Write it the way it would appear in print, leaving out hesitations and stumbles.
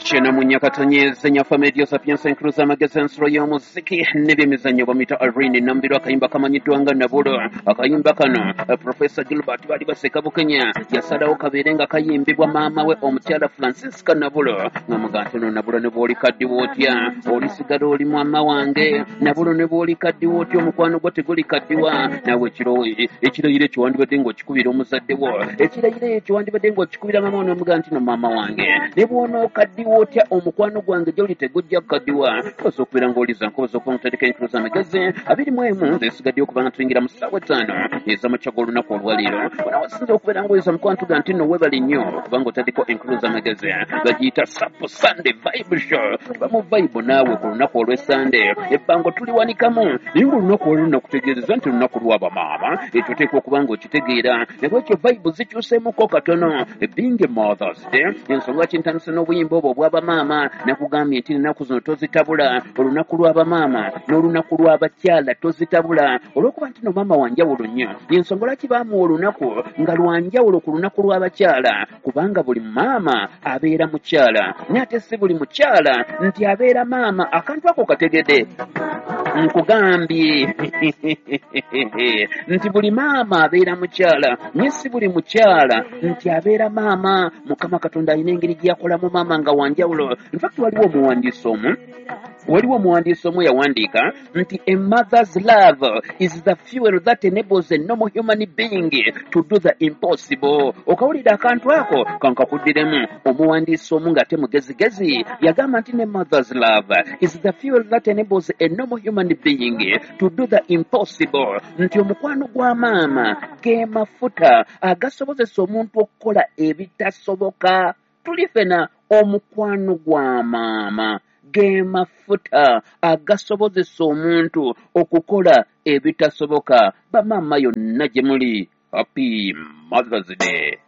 Kyenamunyakatonyeze nyafa media sapiensa enkuluza amagezi ensulo y'omuziki n'ebyemizannyo bamuyita Irene Nambirwa. Akayimba kamanyiddwa nga Nabulo. Akayimba kano Profesa Gilbert baali baseka Bukenya yasalawo kabeere nga kayimbibwa maama we omukyala Francisca Nabulo, ng'amugaa nti no Nabulo ne bw'oli kaddiwa otya olisigala oli mwama wange. Nabulo ne bw'oli kaddiwa otya omukwano gwo teguli kaddiwa. Naawe ekirayiro ekyo wandibadde ng'okikubira omuzadde wo, ekirayiro ekyo wandibadde ng'okikubira maama wo n'omugaa nti no maama wange ne bw'onookaddiwa otya omukwano gwange gy'oli tegujja kukaddiwa. Tukoze okubeera ng'oliza nkoza okuba nga enkulu z'amagezi 21 zesigaddeyo okuba nga tuyingira mu ssaawa 5 ez'amakya g'olunaku olwaleero. Bona wasinza okubeera ng'oliza mukwano tuga nti nno weebale nnyo okuba ng'otaddeko enkulu z'amagezi. Bagiyita Sapo Sunday Vibe Show. Tuba mu vibe naawe ku lunaku olw'Esande, ebbango tuliwanikamu naye ng'olunaku olwo nakutegeereza nti lunaku lw'abamaama, ekyo oteekwa okuba ng'okitegeera. Nabwekyo vibe zikyuseemuko katono, being a Mother's Day, ensonga kintandise n'obuyimba obwo obw'abamaama. Nakugambye nti ennaku zino tozitabula, olunaku lw'abamaama n'olunaku lw'abakyala tozitabula, olw'okuba nti no maama wanjawulo nnyo. Ensonga lwaki baamuwa olunaku nga lwanjawulo ku lunaku lw'abakyala, kubanga buli maama abeera mukyala, naye ate si buli mukyala nti abeera maama. Akantu ako kategedde? Nkugambye nti buli maama abeera mukyala, naye si buli mukyala nti abeera maama. Mukama Katonda alina engeri gye yakolamu maama nga wanjawulo. Infact waliwo omuwandiisi omu yawandiika nti a mother's love is the fuel that enables a normal human being to do the impossible. Okawulira akantu ako? Kankakuddiremu. Omuwandiisi omu ng'ate mugezigezi yagamba nti ne mother's love is the fuel that enables a normal human being to do the impossible, nti omukwano gwa maama ge mafuta agasobozesa omuntu okukola ebitasoboka. Tuli fena, omukwano gwa maama ge mafuta agasobozesa omuntu okukola ebitasoboka. Bamaama yonna gye muli, happy Mothers Day.